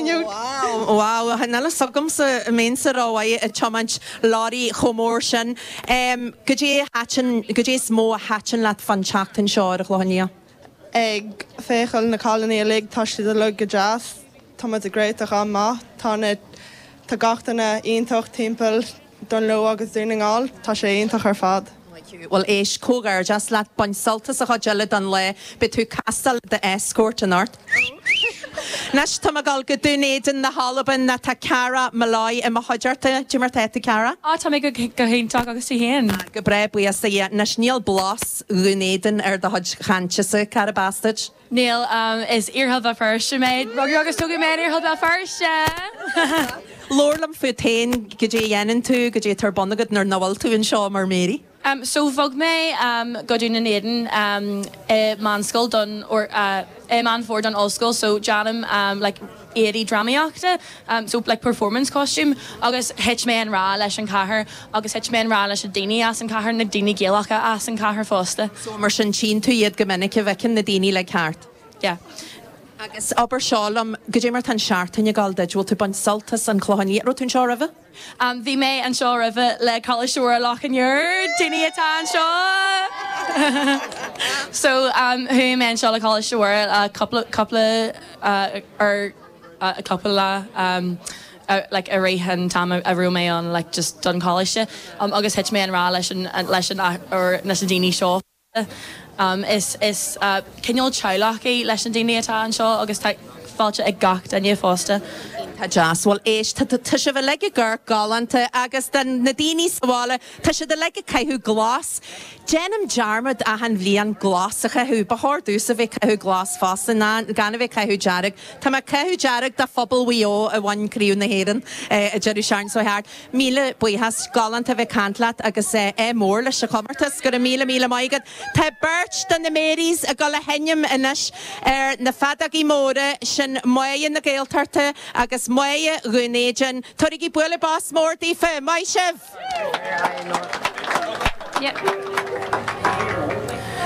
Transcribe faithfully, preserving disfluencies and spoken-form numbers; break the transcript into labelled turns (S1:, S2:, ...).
S1: you.
S2: Wow, wow, níl a fhios agamsa an mbeinnse rómhaith ag tiomáint leoraí chomh mór sin. Um, Goidé goidé is mó a thaitin leat fán tseachtain seo ar an Chlochán Liath.
S1: Ag féachail na cailíní uilig tá siad uilig go deas, Tá ag réiteach an-mhaith, Tá tá gach duine iontach timpeall Dún Lúiche agus Dún na nGall, tá sé iontach ar fad.
S2: Well éist comhghairdeas leat bain sult as an chuid eile den lá beidh tú castáil the escort anocht. Anois tá ag dul go Dún Éideann na hAlban tá Cara Molloy i mo chuideachta Goidé mar tá tú Cara?
S3: Á tá mé go go hiontach agus tú féin.
S2: Go breá buíochas a Dhia anois níl blas Dhún Éideann ar do chuid cainte Cara Bastard.
S3: Níl um, is iarthar Bhéal Feirste mé rugadh agus tógadh mé iarthar Bhéal Feirste.
S2: Labhair liom fút féin goidé a dhéanann tú goidé atá ar bun agat nuair nach bhfuil tú anseo mar Mary.
S3: Um, so bhog mé um, go Dún Éideann um, i meánscoil don or uh, i Meán Fómhair don ollscoil, so déanaim um, like, éadaí drámaíochta, um, so like performance costume agus thit mé i ngrá leis an chathair agus thit mé i ngrá leis na daoine as an chathair na daoine Gaelacha as an chathair fosta.
S2: So mar sin tchíonn tú iad go minic a bhfeiceann na daoine le ceart.
S3: Yeah.
S2: Agus abair seo liom goidé mar tá an seachtain ag dul duit bhfuil tú ag baint sult as an Chlochán Liath raibh tú anseo roimhe?
S3: Um, bhí mé anseo roimhe le Coláiste Loch an Iúir daoine atá anseo. so um, chuaigh mé anseo le Coláiste uh, cúpla cúpla uh, ar uh, a cúpla lá um, uh, like a rith an t-am a raibh mé an like just don choláiste um, agus thit mé i ngrá leis an leis an or leis an daoine seo. Um, is is uh, cineál teaghlach é leis an daoine atá anseo agus tá fáilte ag gach duine fosta.
S2: Tá deas bhfuil éist tá sibh uilig ag galánta agus den na daoine sa bhaile tá siad uilig ag caitheamh glas. Déanaim dearmad achan bhliain glas a chaitheamh, ba chóir domhsa bheith ag caitheamh glas fosta ná gan a bheith ag caitheamh dearg. Tá mé ag caitheamh dearg do phobal Mhaigh Eo a bhain Craobh na hÉireann an deireadh seachtaine seo thart. Míle buíochas galánta bheith ag caint leat agus é mór leis an chomórtas go raibh míle míle maith agat. Tá beirt de na Marys ag dul a sheinm anois ar na feadógaí móra sin Máire na Gaeltachta agus Máire Dhún Éideann. Tabhairigí bualadh bos mór daofa, maith sibh!
S3: Yeah.